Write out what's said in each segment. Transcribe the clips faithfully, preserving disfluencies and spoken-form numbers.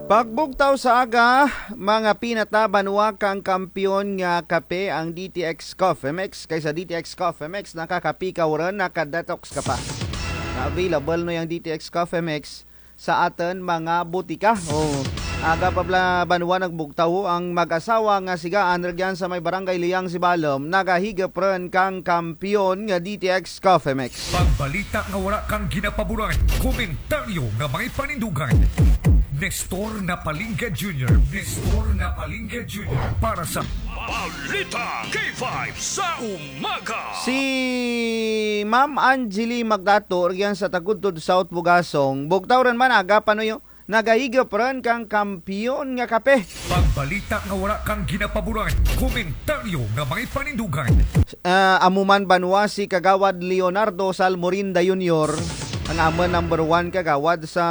Pagbugtaw sa aga, mga pinata, banwa, kang kampiyon nga kape ang D T X Coffee Mix. Kay sa D T X Coffee Mix, nakakape ka run, nakadetox ka pa. Na available no yang D T X Coffee Mix sa atun mga butika. O, aga pa bala, banwa, nagbugtaw ang mag-asawa nga sigaan rugyan sa may Barangay Liang, Sibalom, nagahigop run kang kampiyon nga D T X Coffee Mix. Pagbalita nga wara kang ginapaboran, komentaryo nga may panindugan. Nestor Napalingga Junior, Nestor Napalingga Junior para sa Balita K five sa umaga. Si Ma'am Angeli Magdato, rugyan sa Tagudtod South, Bugasong, bugtaw run man aga, panuyo, nagahigop run kang kampiyon nga kape. Pagbalita nga wara kang ginapaboran, komentaryo nga may panindugan. Ah, amo man, banwa, si Kagawad Leonardo Salmorinda Junior, ang amun number one kagawad sa,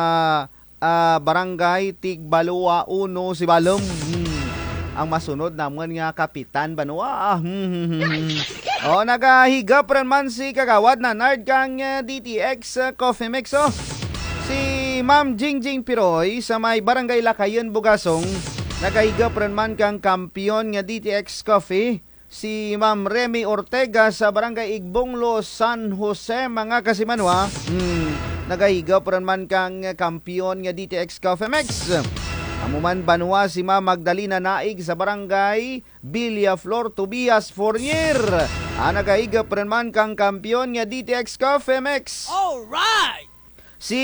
ah, Barangay Tigbaloa Uno, Sibalom. Hmm. Ang masunod namun nga kapitan, banwa. Hmm, hmm, hmm, hmm. O, nagahigop run man si Kagawad Nanard kang, ah, D T X, ah, Coffee Mix, o. Si Ma'am Jingjing Piroy sa may Barangay Lakayon, Bugasong, nagahigop run man kang kampiyon nga D T X Coffee. Si Ma'am Remy Ortega sa Barangay Igbonglo, San Jose, mga kasimanwa. Hmm, nagahigop run man kang kampiyon nga D T X Coffee Mix. Amo man, banwa, si Ma'am Magdalena Naig sa Barangay Villaflor, Tobias, Fornier. Ah, nagahigop run man kang kampiyon nga D T X Coffee Mix. Alright! Si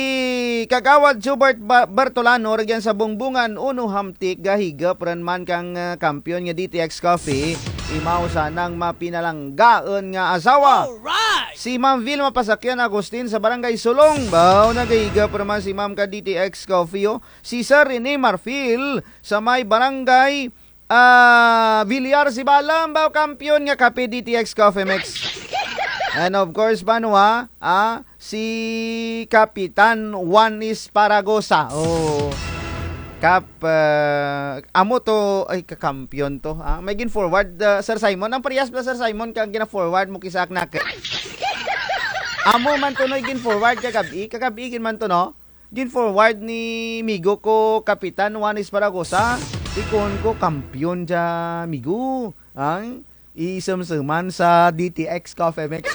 Kagawad Jubert Ba-, Bertolano, rugyan sa Bongbongan Uno, Hamtic, gahigop run man kang, ah, kampiyon nga D T X Coffee. Imaw sa nang mapinalanggaon nga asawa. Alright! Si Ma'am Vilma Pasakyan Agustin sa Barangay Sulong. Baw, nagahigop run man si Ma'am ka D T X Coffee, o. Si Sir Rene Marfil sa may Barangay, ah, Villar, Sibalom, baw, kampiyon nga kape, D T X Coffee Mix. And of course, banwa, ah, si Kapitan Juan Esparagosa. O, Kap, ah, amo to, ay, kakampiyon to, ah. May gin-forward, ah, Sir Simon. Ang parehas bala, Sir Simon, kang gina-forward mo kay sa akun. Amo man to, no, gin-forward kagab-i, kagab-i gid man to, no? Gin-forward ni migo ko Kapitan Juan Esparagosa, ti kuon ko kampiyon dya, migo. Ang isumsuman sa D T X Coffee Mix.